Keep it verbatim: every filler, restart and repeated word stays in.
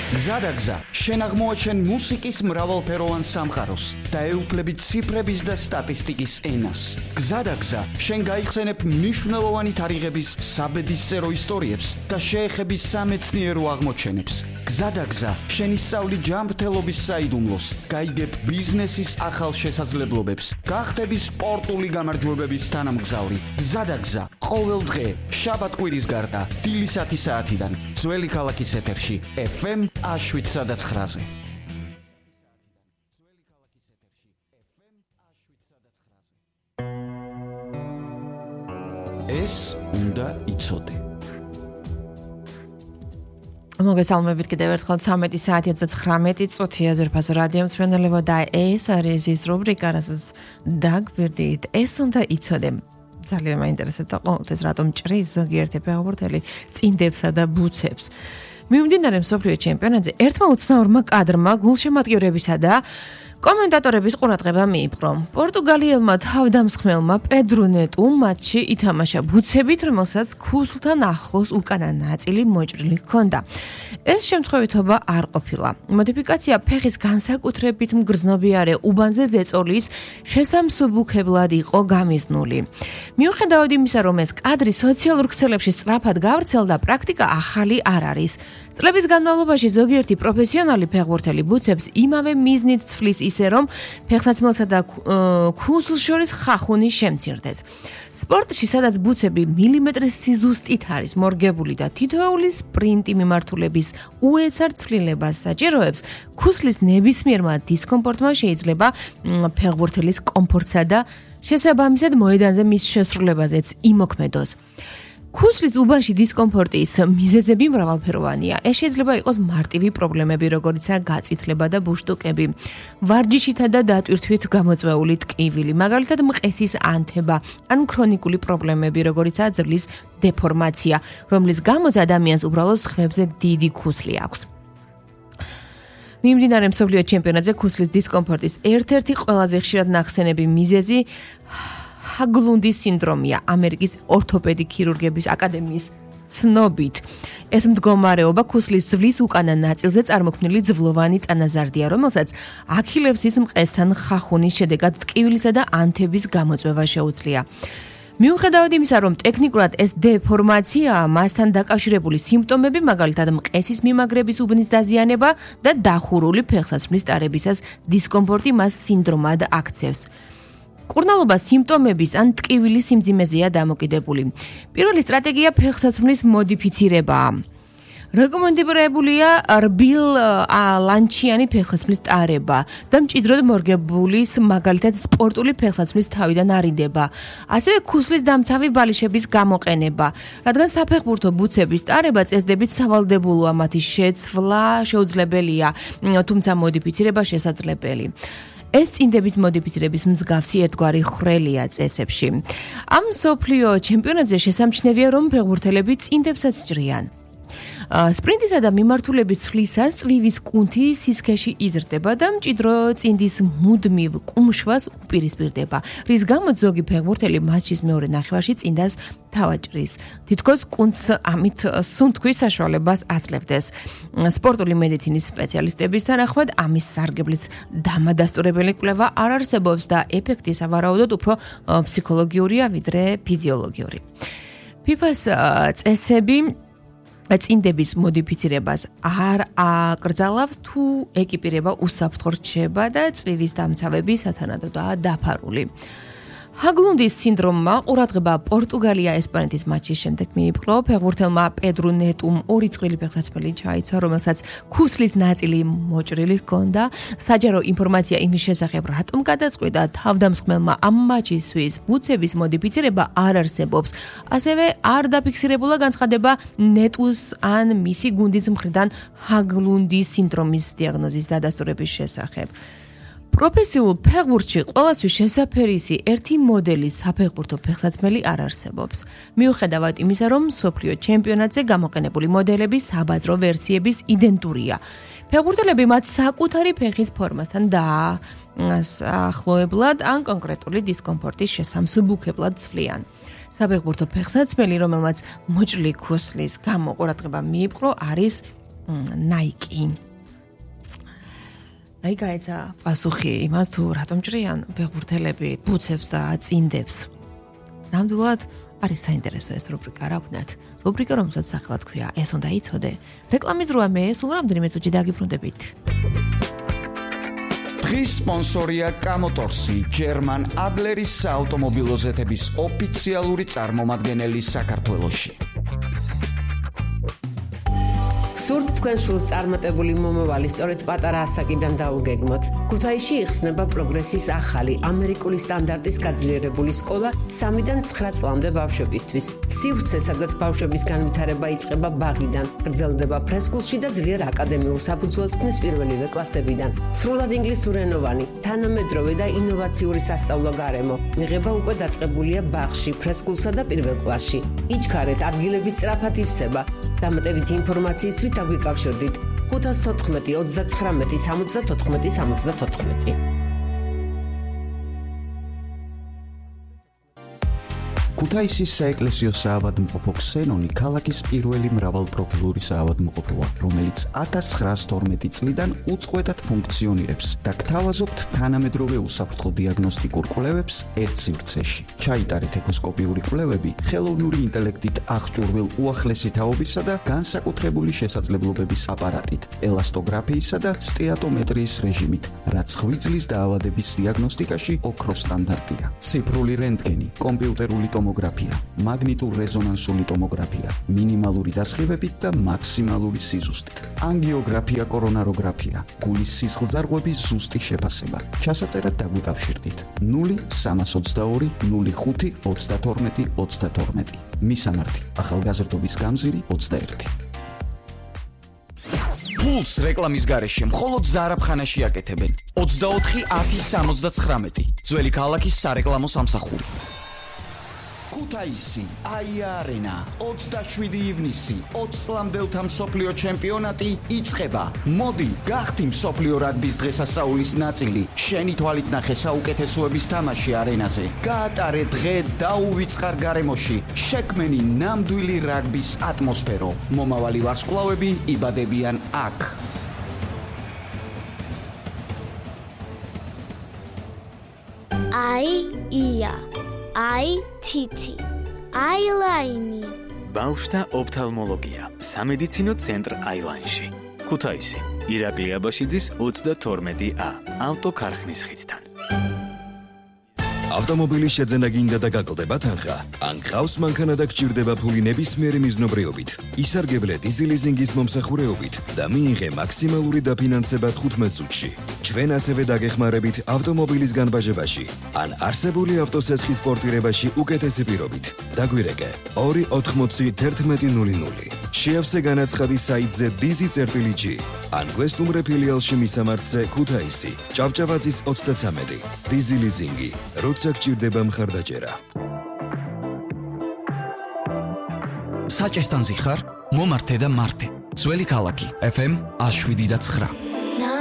გზადაგზა შენ აღმოაჩენ მუსიკის მრავალფეროვან სამყაროს და ეუფლები ციფრების და სტატისტიკის ენას. გზადაგზა შენ გაიხსენებ მნიშვნელოვანი თარიღების საბედისწერო ისტორიებს და შეეხები სამეცნიერო აღმოჩენებს. გზადაგზა შენ ისწავლი ჯანმრთელობის საიდუმლოს, გაიგებ ბიზნესის ახალ შესაძლებლობებს, გახდები სპორტული გამარჯვებების თანამგზავრი. გზადაგზა ყოველ დღე შაბათ-კვირის გარდა დილის ათი საათიდან ძველი ქალაქის ეთერში ეფ ემ შვიდ ცხრაზე. ეს უნდა იცოდე. მოგესალმებით კიდევ ერთხელ ცამეტი საათი ოცდათხრამეტი წუთია ძვირფასო რადიო მსმენელებო და ეს არის ის რუბრიკა, რასაც დაგვირდით. ეს უნდა იცოდე. ძალიან მაინტერესებდა ყოველთვის რატომ ჭრის ზოგიერთი ფეხბურთელი წინდებსა და ბუცებს. მიმდინარე მსოფლიო ჩემპიონატზე ერთმა უცნაურმა კადრმა გულშემატკივრებისა და კომენტატორების ყურადღება მიიპყრო. პორტუგალიელმა თავდამსხმელმა პედრო ნეტუ მატჩში ითამაშა ბუცებით, რომელსაც ქუსლთან ახლოს უკანა ნაწილი მოჭრილი ჰქონდა. ეს შემთხვევითობა არ ყოფილა. მოდიფიკაცია ფეხის განსაკუთრებით მგრძნობიარე უბანზე ზეწოლის შესამსუბუქებლად იყო გამიზნული. მიუხედავად იმისა, რომ ეს კადრი სოციალურ ქსელებში სწრაფად გავრცელდა, პრაქტიკა ახალი არ არის. წლების განმავლობაში ზოგიერთი პროფესიონალი ფეხბურთელი ბუცებს იმავე მიზნით ცვლის ისე, რომ ფეხსაცმელსა და ქუსლს შორის ხახუნი შემცირდეს. სპორტში, სადაც ბუცები მილიმეტრის სიზუსტით არის მორგებული და თითოეული სპრინტი მიმართულების უეცარ ცვლილებას საჭიროებს, ქუსლის ნებისმიერმა დისკომფორტმა შეიძლება ფეხბურთელის კომფორტსა და შესაბამისად მოედანზე მის შესრულებაზეც იმოქმედოს. ქუსლის უბანში დისკომფორტის მიზეზები მრავალფეროვანია. ეს შეიძლება იყოს მარტივი პრობლემები, როგორიცაა გაწითლება და ბუშტუკები, ვარჯიშითა და დატვირთვით გამოწვეული ტკივილი, მაგალითად მყესის ანთება, ან ქრონიკული პრობლემები, როგორიცაა ძვლის დეფორმაცია, რომლის გამოც ადამიანს უბრალოდ სხვებზე დიდი ქუსლი აქვს. მიმდინარე მსოფლიო ჩემპიონატზე ქუსლის დისკომფორტის ერთ-ერთი ყველაზე ხშირად ნახსენები მიზეზი ჰაგლუნდის სინდრომია, ამერიკის ორთოპედი ქირურგების აკადემიის ცნობით. ეს მდგომარეობა ქუსლის ძვლის უკანა ნაწილზე წარმოქმნილი ძვლოვანი წანაზარდია, რომელსაც აქილევსის მყესთან ხახუნის შედეგად ტკივილისა და ანთების გამოწვევა შეუძლია. მიუხედავად იმისა, რომ ტექნიკურად ეს დეფორმაციაა, მასთან დაკავშირებული სიმპტომები, მაგალითად მყესის მიმაგრების უბნის დაზიანება და დახურული ფეხსაცმლის ტარებისას დისკომფორტი მას სინდრომად აქცევს. კურნალობა სიმპტომების ან ტკივილის სიმძიმეზეა დამოკიდებული. პირველი სტრატეგია ფეხსაცმლის მოდიფიცირებაა. რეკომენდებულია რბილ ლანჩიანი ფეხსაცმლის ტარება და მჭიდროდ მორგებულის, მაგალითად სპორტული ფეხსაცმლის თავიდან არიდება. ასევე ქუსლის დამცავი ბალიშების გამოყენება, რადგან საფეხბურთო ბუცების ტარება წესდებით სავალდებულოა, მათი შეცვლა შეუძლებელია, თუმცა მოდიფიცირება შესაძლებელი. ეს წინდების მოდიფიცირების მსგავსი ერთგვარი ხრელია წესებში. ამ მსოფლიო ჩემპიონატზე შესამჩნევია, რომ ფეხბურთელები წინდებსაც ჭრიან. სპრინტისა და მიმართულების ცვლისას წვივის კუნთი სისქეში იზრდება და მჭიდრო წინდის მუდმივ კუმშვას უპირისპირდება, რის გამოც ზოგი ფეხბურთელი მატჩის მეორე ნახევარში წინდას თავაჭრის. თითქოს კუნთს ამით სუნთქვის საშუალებას აძლევდეს. სპორტული მედიცინის სპეციალისტების თანახმად ამის სარგებლის დამადასტურებელი კვლევა არ არსებობს და ეფექტი სავარაუდოდ უფრო ფსიქოლოგიურია ვიდრე ფიზიოლოგიური. ფიფას წესები წინდების მოდიფიცირებას არ აკრძალავს, თუ ეკიპირება უსაფრთხო რჩება და წვივის დამცავები სათანადოდაა დაფარული. ჰაგლუნდის სინდრომმა ყურადღება პორტუგალია-ესპანეთის მატჩის შემდეგ მიიპყრო. ფეხბურთელმა პედრო ნეტუმ ორი წყვილი ფეხსაცმელი ჩაიცვა, რომელსაც ქუსლის ნაწილი მოჭრილი ჰქონდა. საჯარო ინფორმაცია იმის შესახებ, რატომ გადაწყვიტა თავდამსხმელმა ამ მატჩისთვის ბუცების მოდიფიცირება არ არსებობს. ასევე არ დაფიქსირებულა განცხადება ნეტუს ან მისი გუნდის მხრიდან ჰაგლუნდის სინდრომის დიაგნოზის დადასტურების შესახებ. პროფესიულ ფეხბურთში ყველასთვის შესაფერისი ერთი მოდელის საფეხბურთო ფეხსაცმელი არ არსებობს. მიუხედავად იმისა, რომ მსოფლიო ჩემპიონატზე გამოყენებული მოდელები საბაზრო ვერსიების იდენტურია. ფეხბურთელები მათ საკუთარი ფეხის ფორმასთან დაახლოებლად ან კონკრეტული დისკომფორტის შესამსუბუქებლად ცვლიან. საფეხბურთო ფეხსაცმელი, რომელმაც მოჭრილი ქუსლის გამო ყურადღება მიიპყრო, არის Nike. აი გაიცა პასუხი იმას თუ რატომ ჭრიან ფეხბურთელები ბუცებს და წინდებს. ნამდვილად არის საინტერესო ეს რუბრიკა, რა ვქნათ. რუბრიკა, რომელსაც სახელად ქვია, ეს უნდა იცოდე. რეკლამის დროა მე, სულ რამდენიმე წუთში დაგიბრუნდებით. დღის სპონსორია კამოტორსი, ჯერმან ადლერის საავტომობილო ზეთების ოფიციალური წარმომადგენელი საქართველოში. სურთ თქვენ შულს წარმატებული მომავალი სწორედ პატარა ასაკიდან დაუგეგმოთ. ქუთაისში იხსნება პროგრესის ახალი ამერიკული სტანდარტის გაძლიერებული სკოლა სამიდან ცხრა წლამდე ბავშვებისთვის. სივრცე, სადაც ბავშვების განვითარება იწყება ბაღიდან, გრძელდება ფრესკულში და ძლიერ აკადემიურ საფუძველს ქმნის პირველივე კლასებიდან. სრულად ინგლისურენოვანი, თანამედროვე და ინოვაციური სასწავლო გარემო. მიღება უკვე დაწყებულია ბაღში, ფრესკულსა და პირველ კლასში. იჩქარეთ, ადგილების სწრაფად ივსება. დამატებითი ინფორმაციისთვის დაგვიკავშირდით ხუთას თოთხმეტი ოცდაცხრამეტი სამოცდათოთხმეტი სამოცდათოთხმეტი. ქუთაისის საეკლესიო საავადმყოფო ქსენონი ქალაქის პირველი მრავალპროფილური საავადმყოფოა, რომელიც ათას ცხრაას თორმეტი წლიდან უწყვეტად ფუნქციონირებს და გთავაზობთ თანამედროვე უსაფრთხო დიაგნოსტიკურ კვლევებს ერთ სივრცეში. ჩაიტარეთ ეკოსკოპიური კვლევები ხელოვნური ინტელექტით აღჭურვილ უახლესი თაობისა და განსაკუთრებული შესაძლებლობების აპარატით, ელასტოგრაფიისა და სტეატომეტრიის რეჟიმით, რაც ღვიძლის დაავადების დიაგნოსტიკაში ოქროს სტანდარტია. ციფრული რენტგენი, კომპიუტერული ტომოგრაფია, მაგნიტურ-რეზონანსული ტომოგრაფია, მინიმალური დასხივებით და მაქსიმალური სიზუსტით. ანგიოგრაფია, კორონაროგრაფია, გულის სისხლძარღვების ზუსტი შეფასება. ჩასაწერად დაგვიკავშირდით ნული სამას ოცდაორი ნული ხუთი ოცდათორმეტი ოცდათორმეტი. მისამართი: ახალგაზრდობის გამზირი ოცდაერთი. ფულს რეკლამის გარეშე მხოლოდ ზარაფხანაში აკეთებენ. ოცდაოთხი ათი სამოცდაცხრამეტი. ძველი ქალაქის სარეკლამო სამსახური. ქუთაისი, აია-არენა, ოცდაშვიდი ივნისი, ოცი წლამდელთა მსოფლიო ჩემპიონატი იწყება. მოდი, გახდი მსოფლიო რაგბის დღესასწაულის ნაწილი. შენი თვალით ნახე საუკეთესოების თამაში არენაზე. გაატარე დღე დაუვიწყარ გარემოში. შექმენი ნამდვილი რაგბის ატმოსფერო. მომავალი ვარსკვლავები იბადებიან აქ. აი ია აი თითი აილაინი ბავშვთა ოფთალმოლოგია სამედიცინო ცენტრ აილაინში ქუთაისი ირაკლი აბაშიძის ოცდათორმეტი ა ავტოქარხნის ხიდთან ავტომობილის შეძენა გინდა და გაკლდება თანხა ან გყავს მანქანა და გჭირდება ფული ნებისმიერი მიზნობრიობით ისარგებლე დიზელიზინგის მომსახურეობით და მიიღე მაქსიმალური დაფინანსება თხუთმეტ წუთში ჩვენ ასევე დაგეხმარებით ავტომობილის განბაჟებაში ან არსებული ავტოსესხის პორტირებაში უკეთესი პირობით დაგვირეკე ორი ოთხმოცი თერთმეტი ნული ნული შეავსე განაცხადი საიტზე dizi.gi ან გვესტუმრე ფილიალში მისამართზე ქუთაისი ჭავჭავაძის ოცდაცამეტი დიზელიზინგი როცა გჭირდება მხარდაჭერა საჭესთან ზიხარ მომართე და მართე ძველი ქალაქი ეფ ემ ათს შვიდი და ცხრა